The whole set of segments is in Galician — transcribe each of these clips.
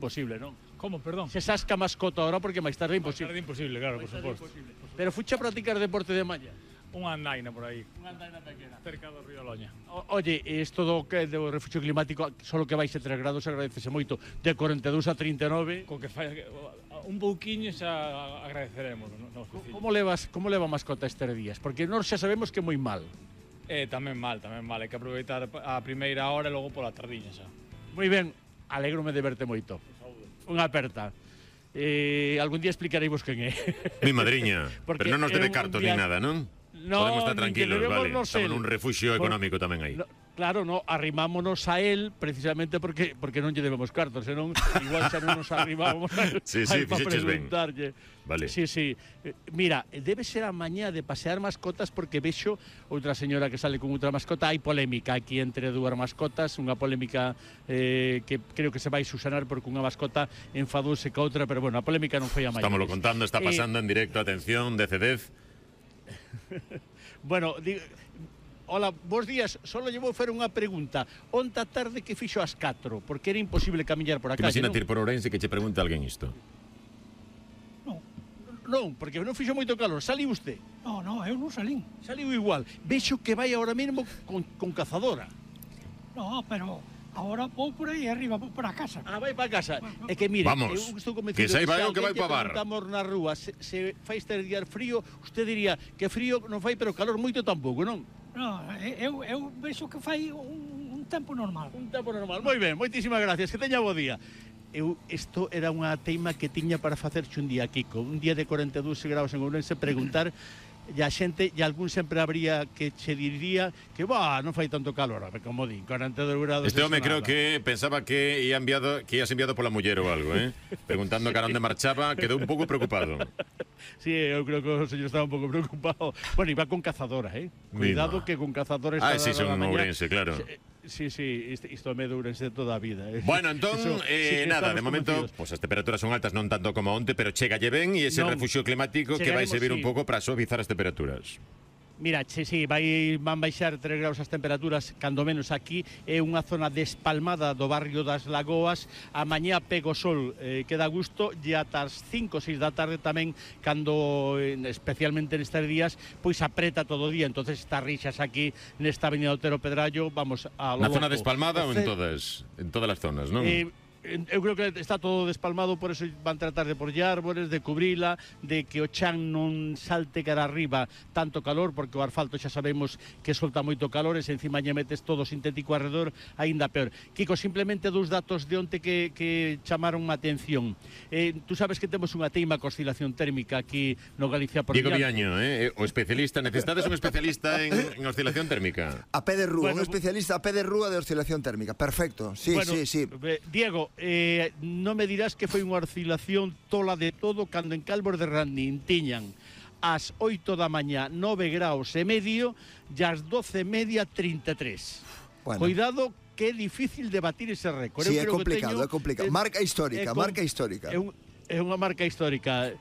Imposible, non? Como, perdón? Se sasca mascota ahora porque máis tarde é Máis imposible. tarde imposible, claro, por suposto. Pero fuche a practicar deporte de malla. Unha andaina por aí, Unha andaina pequena. cerca do río Loña. Oye, isto do refugio climático, solo que vais a 3 grados, agradecese moito. De 42 a 39. Co que fai un pouquiño xa agradeceremos, non? Como leva a mascota estes días? Porque nós xa sabemos que é moi mal. Tamén mal, hai que aproveitar a primeira hora e logo pola tardiña xa. Moi ben, alégrome de verte moito. Unha aperta. Algún día explicareivos quen é. Mi madriña, Porque pero non nos debe é un cartos ni nada, non? No, Podemos estar nin que tranquilos, debemos vale. nos Estamos el. nun refugio económico tamén aí. No, claro, no, arrimámonos a él precisamente porque non lle debemos cartos, senón igual xa non nos arrimábamos a él, Sí, a él para fixeches ben. preguntarlle. Vale. Sí. Mira, debe ser a mañá de pasear mascotas porque vexo outra señora que sale con outra mascota. Hai polémica aquí entre dúas mascotas, unha polémica que creo que se vai susanar porque unha mascota enfadouse ca outra, pero bueno, a polémica non foi a maiores. Estámoslo contando, está pasando en directo, atención, DCDez. Bueno, hola, bons días. Solo lle vou fer unha pregunta. Onta tarde que fixo as 4? Porque era imposible camiñar por a calle, Imagínate non? ir por Ourense que che pregunta alguén isto. Non, porque non fixo moito calor. Saliu usted? No, eu non salín. Saliu igual. Vexo que vai ahora mesmo con cazadora. No, pero agora vou por aí arriba, vou para a casa. Vai para casa. É que mire, Vamos, eu estou convencido que sai vai o que alguén vai pa bar. preguntamos na rúa se fai este día frío, usted diría que frío non fai, pero calor moito tampouco, non? No, eu vexo que fai un tempo normal. Un tempo normal. Moi ben, moitísimas gracias. Que teña bo día. Isto era unha teima que tiña para facerche un día, Kiko. Un día de 42 graus en Ourense, preguntar e a xente, e algún sempre habría que che diría que, non fai tanto calor, como din, 42 grados. Este home eso creo nada. que pensaba que ías enviado pola muller ou algo, preguntando cara onde marchaba, quedou un pouco preocupado. Sí, eu creo que o señor estaba un pouco preocupado. Bueno, iba con cazadora, Cuidado que con cazadora está sí, son Ourense, claro. Sí, isto me de Ourense de toda a vida. Bueno, entón, sí nada, de estamos momento, convencidos. as temperaturas son altas, non tanto como onte, pero chegalle ben e ese Non, refugio climático que vai chegaremos, servir un sí. pouco para suavizar as temperaturas. Mira, van baixar 3 graus as temperaturas, cando menos aquí. É unha zona despalmada do barrio das Lagoas. A mañá pega o sol, queda a gusto, e ata as 5 ou 6 da tarde tamén, cando, especialmente nestes días, pois apreta todo o día. Entonces estas rixas aquí, nesta avenida Otero Pedrallo, vamos a lo Na loco. zona despalmada ou en todas as zonas, non? Eu creo que está todo despalmado, por eso van tratar de porlle árbores, de cubrila, de que o chan non salte cara arriba tanto calor, porque o asfalto xa sabemos que solta moito calor, e se encima lle metes todo sintético alrededor, aínda peor. Kiko, simplemente dous datos de onte que chamaron a atención. Tú sabes que temos unha teima con oscilación térmica aquí no Galicia por Diego Viaño, o especialista, necesitades un especialista en oscilación térmica. A pé de rúa, Bueno, un especialista a pé de rúa de oscilación térmica. Perfecto, sí. Diego, non me dirás que foi unha oscilación tola de todo cando en Calvos de Randín tiñan ás 8 da mañá 9 graus e medio e ás 12 e media 33. Bueno. Cuidado que é difícil de batir ese récord. Sí, Eu é creo que complicado, teño, é complicado. Marca histórica, marca histórica. É unha marca histórica.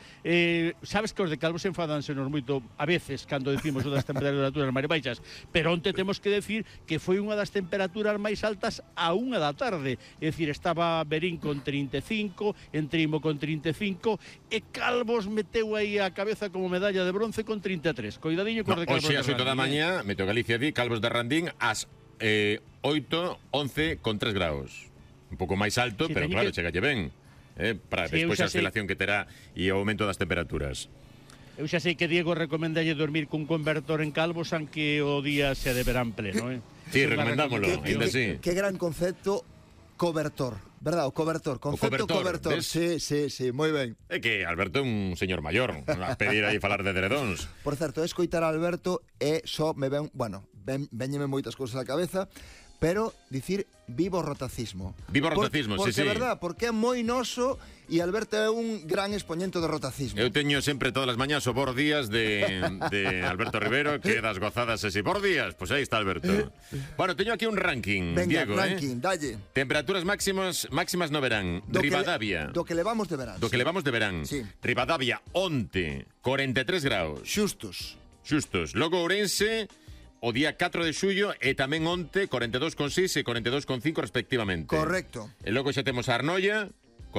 Sabes que os de Calvos enfadansenos moito a veces cando decimos o das temperaturas máis baixas, pero onte temos que decir que foi unha das temperaturas máis altas a 1 da tarde. É dicir, estaba Berín con 35, Entrimo con 35 e Calvos meteu aí a cabeza como medalla de bronce con 33. Coidadiño cos de Calvos Hoxe de ás 8 da mañá, Meteo Galicia di, Calvos de Randín ás 8, 11 con 3 graus. Un pouco máis alto, Sí, pero claro, chegalle ben. Para Sí, despois eu a xa sei. oscilación que terá e o aumento das temperaturas. Eu xa sei que Diego recomendalle dormir cun convertor en Calvos, aunque o día se de verán pleno, Sí, Esa é unha recomendámolo, recomendación. ainda así. Qué gran concepto cobertor, verdad? O cobertor, concepto cobertor, cobertor. ves? Sí, moi ben. É que Alberto é un señor maior, a pedir aí falar de dredóns. Por certo, escoitar a Alberto é só me ven, véñeme moitas cousas á cabeza, pero dicir vivo rotacismo. Vivo rotacismo, porque, sí. Verdad, porque é moi noso e Alberto é un gran expoñente do rotacismo. Eu teño sempre todas as mañas o Bor Días de Alberto Rivero, que das gozadas ese Bor Días, pois aí está Alberto. Bueno, teño aquí un ranking, Venga, Diego, ranking, dalle. Temperaturas máximas no verán. Ribadavia. Do que levamos de verán. Do que levamos de verán. Sí. Ribadavia, onte, 43 graus. Xustos. Logo Ourense, o día 4 de xullo, e tamén onte, 42,6 e 42,5 respectivamente. Correcto. E logo xa temos a Arnoia,